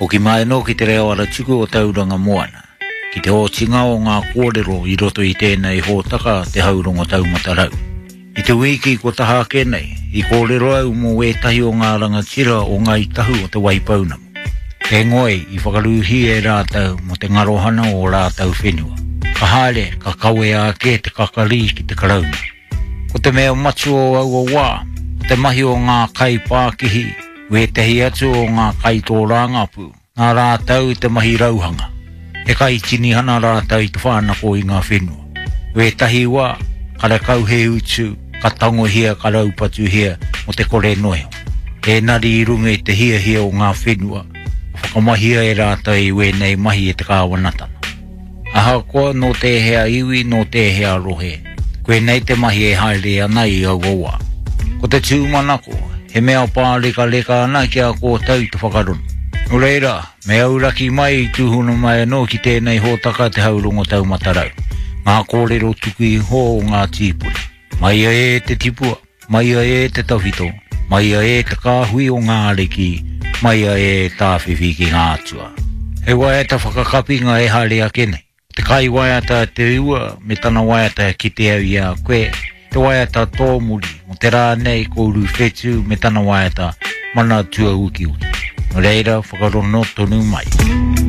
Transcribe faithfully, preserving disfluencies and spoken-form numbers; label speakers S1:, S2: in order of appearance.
S1: Hoki mai anō ki te reo aratuku o Tauranga Moana, ki te otinga o ngā kōrero i roto i tēnei hōtaka te haurongo taumata rau. I te wiki ko taha ake nei, i kōrero au mō wētahi o ngā rangatira o Ngāi Tahu o Te Waipounamu. He ngoi i whakarūhi e rātou mō te ngarohana o rātou whenua. Ka haere, ka kawea ake te kakari ki te karauna. Ko te mea matua o aua wā, ko te mahi o ngā kai pākihi, wētehi atu o ngā kai tōrangapū, ngā rātou i te mahi rauhanga. He kai tinihana rātou i te whānako i ngā whenua. Wētahi wā, karekau he utu, ka tangohia, ka raupatuhia mo te kore noeho. Ēnari i runga i te hiahia o ngā whenua, whakamahia e rātou i wēnei mahi e te kāwanatanga. Ahakoa nō tēhea iwi, nō tēhea rohe, koenei te mahi e haere ana i aua wā. Ko te tūmanako, he mea pārekareka ana ki a kōtou te whakarono. Nō reira, me auraki mai i tūhono mai anō ki tēnei hōtaka te haurongo taumata rau. Ngā kōrero tuku iho o ngā tīpuna. Maia e te tipua, maia e te tawhito, maia e te kāhui o ngā ariki, maia e tāwhiwhi ki ngā atua. He waiata whakakapinga e haere ake nei. Te kai waiata te ua me tana waiata ki te au i a koe, te waiata tōmuri mo te rā nei ko Uruwhetū me tana waiata mana tuaukiuki. Nō reira, whakarono tonu mai.